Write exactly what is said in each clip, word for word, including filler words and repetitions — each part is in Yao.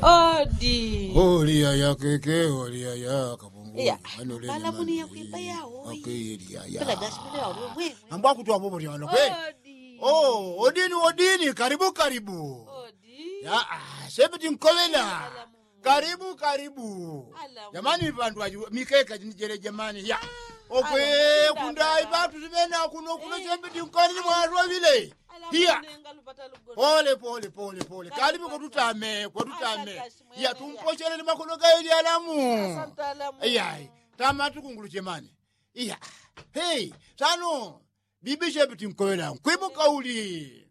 Odi. Oliya yakeke oliya yakapungu. Iya. Ano lele mani yakwimba yawo. Akeyeli yaya. Pela gasi mune yawo mwe. Ambwa kutwa bobo lyano kwe. Odi. Oh, odini odini, karibu karibu. Odi. Ya ah, sepiti nkowela. Karibu karibu. Jamani, vandwaji mikeka jinijele jamani ya. Okwe kundai vatu zivena kuno kuno sepiti nkoni mwalwa vile. Hiya. Pole pole pole pole, kalipi kwatutame kwatutame. Iya tumposhele ni makono gaili alamu. Iya. Tama tukunguluche mani. Iya. Hei. Sano. Bibi shepiti nkowela nkwimuka uli.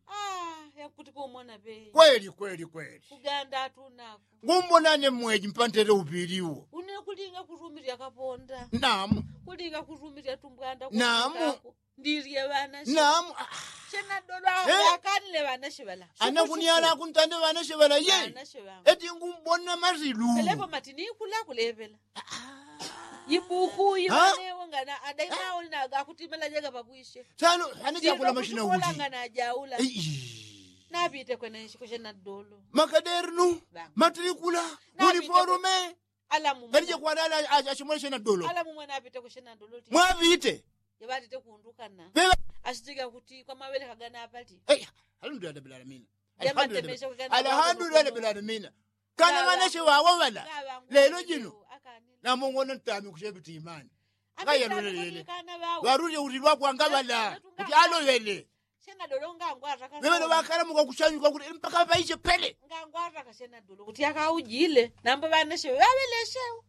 Yakuti kumona pe. Kweli kweli kweli. Kuganda atunako. Ngumbonane mweji mpantele upiliwo. Une kulinga kurumirya kaponda. Namu. Kulinga kurumirya tumbwanda. Namu. Ndilye ŵanashe. Namu. Shenadolo akanile ŵanashe ŵala. Anakuniana akuntande ŵanashe ŵala ye. Eti ngumbona masilu. Pelepo mati nikula kulepela. Ibuku iŵanewo ngana adaima auli naga akutimela jega papwishe. Sano ane jakula mashina uji. Ngana ajaula. Napite kwene kushenadolo. Makadernu. Matrikula. Uniforume. Alamu. Ngalije kwana ala ashimwele shenadolo. Alamu mwana apite kushenadolo. Mwapite. Yeŵatite kundukana. Ashitiga kuti kwa mawele kagana apati. Alhamdulillah rabbil alamina. Alhamdulillah rabbil alamina. Kana ŵanashe ŵawo ŵala. Lelo jino. Namongona ntami kushepitimani. Ngayalolelele. Ŵarulye utilwa kwanga ŵala kuti aloŵele. Ŵeŵeno ŵakalamuka kushanyuka kuti mpaka ŵaishe pele. Kuti akaujile nambo ŵanashe ŵaŵeleshewo.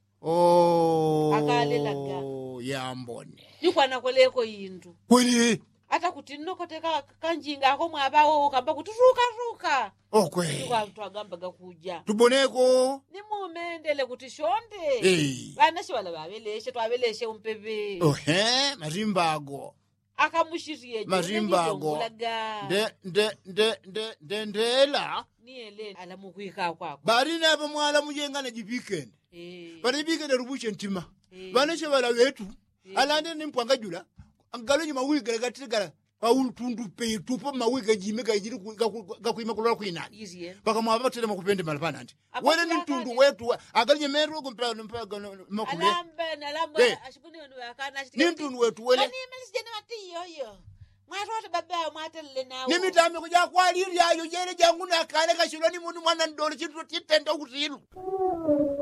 Akalelaga. Yambone. Nikwanakoleko indu kweli. Ata kuti nnokoteka kanjinga ako mwaŵawo kamba kuti ruka ruka. Okwe. Twagambaga kuja tuboneko. Nimumendele kuti shonde. Ŵanashe ŵala ŵaŵeleshe twaŵeleshe umpeŵe. Ohe marimba ago. Akamushirye marimba ago. Nde nde nde nde nde ndela. Niyele alamukwika kwako. Bali napa mwala mujengana jipikene. Pali jipikene lubushe ntima. Ŵanashe ŵala ŵetu. Alande ni mpwanga jula. Ngalonyi mawigala gatigala. Paulu tundu petu pa mawigala jime gajili gakwima kulola kwinani. Paka mwapa ŵatelema kupende mala panandi. Wele ni ntundu wetu. Agalije meru gu mpaka mpaka makule. Ni ntundu wetu wele. Mwatote baba mwatelele nawo ni mitamiko jakwalilyayo jele jangu nakale kashilwa ni munu mwana ndolo chintu titenda ukutilu.